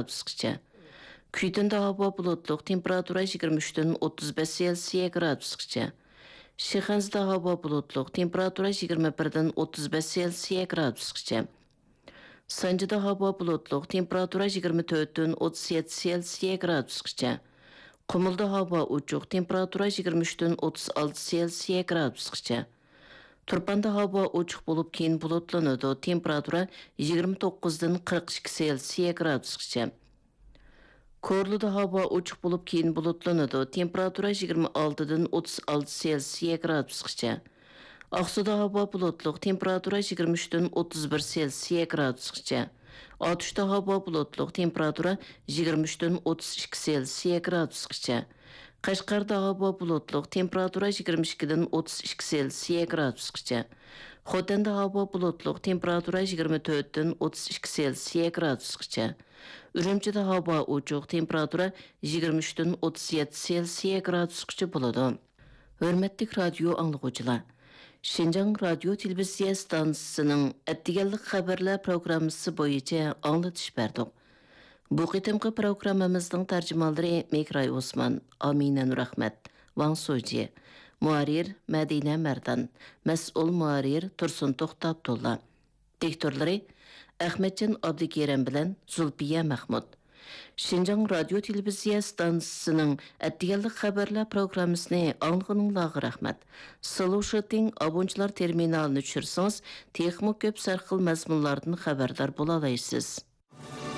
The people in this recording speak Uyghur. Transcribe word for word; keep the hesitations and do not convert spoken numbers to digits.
گرادۇسقىچە. كۈيتۇندا ھاۋا بۇلۇتلۇق، تېمپېراتۇرا يىگىرمە ئۈچتىن ئوتتۇز بەش سېلسىيە گرادۇسقىچە. شىخەنزىدە ھاۋا بۇلۇتلۇق، تېمپېراتۇرا يىگىرمە بىردىن ئوتتۇز بەش سېلسىيە گرادۇسقىچە. سانجىدا ھاۋا بۇلۇتلۇق، تېمپېراتۇرا يىگىرمە تۆتتىن ئوتتۇز يەتتە سېلسىيە گرادۇسقىچە. قۇمۇلدا ھاۋا ئوچۇق، تېمپېراتۇرا يىگىرمە ئۈچتىن ئوتتۇز ئالتە سېلسىيە گرادۇسقىچە. تۇرپاندا ھاۋا ئوچۇق بولۇپ، كېيىن بۇلۇتلىنىدۇ، تېمپېراتۇرا يىگىرمە توققۇزدىن قىرىق ئىككى سېلسىيە گرادۇسقىچە. كورلىدا ھاۋا ئوچۇق بولۇپ، كېيىن بۇلۇتلىنىدۇ، تېمپېراتۇرا يىگىرمە ئالتىدىن ئوتتۇز ئالتە سېلسىيە گرادۇسقىچە. ئاقسۇدا ھاۋا بۇلۇتلۇق، تېمپېراتۇرا يىگىرمە ئۈچتىن ئوتتۇز بىر سېلسىيە گرادۇسقىچە. ئاتۇشتا ھاۋا بۇلۇتلۇق، تېمپېراتۇرا يىگىرمە ئۈچتىن ئوتتۇز ئىككى سېلسىيە گرادۇسقىچە. قەشقەردە ھاۋا بۇلۇتلۇق، تېمپېراتۇرا يىگىرمە ئىككىدىن ئوتتۇز ئىككى سېلسىيە گرادۇسقىچە. خوتەندە ھاۋا بۇلۇتلۇق، تېمپېراتۇرا يىگىرمە تۆتتىن ئوتتۇز ئىككى سېلسىيە گرادۇسقىچە. ئۈرۈمچىدە ھاۋا ئوچۇق، تېمپېراتۇرا يىگىرمە ئۈچتىن ئوتتۇز يەتتە سېلسىيە گرادۇسقىچە بولىدۇ. ھۆرمەتلىك رادىيو ئاڭلىغۇچىلار! شىنجاڭ رادىيو تېلېۋىزىيە ئىستانسىسىنىڭ ئەتىگەنلىك خەۋەرلەر پروگراممىسى بويىچە ئاڭلىتىش بەردۇق. بۇ قېتىمقى پروگراممىمىزنىڭ تەرجىمانلىرى مىكراي ئوسمان، ئامىنە نۇرئەخمەت، ۋاڭ سوجى، مۇھەررىر مەدىنە مەردان، مەسئۇل مۇھەررىر تۇرسۇن توختى ئابدۇللا، دىكتورلىرى ئەخمەتجان ئابدۇكېرىم بىلەن زۇلپىيە مەخمۇت. شىنجاڭ رادىيو تېلېۋىزىيە ئىستانسىسىنىڭ ئەتىگەنلىك خەۋەرلەر پروگراممىسىنى ئاڭلىغىنىڭلارغا رەھمەت. سلۇشىتىڭ ئابونچىلار تېرمىنالىنى چۈشۈرسىڭىز، تېخىمۇ كۆپ سەرخىل مەزمۇنلاردىن خەۋەردار بولالايسىز.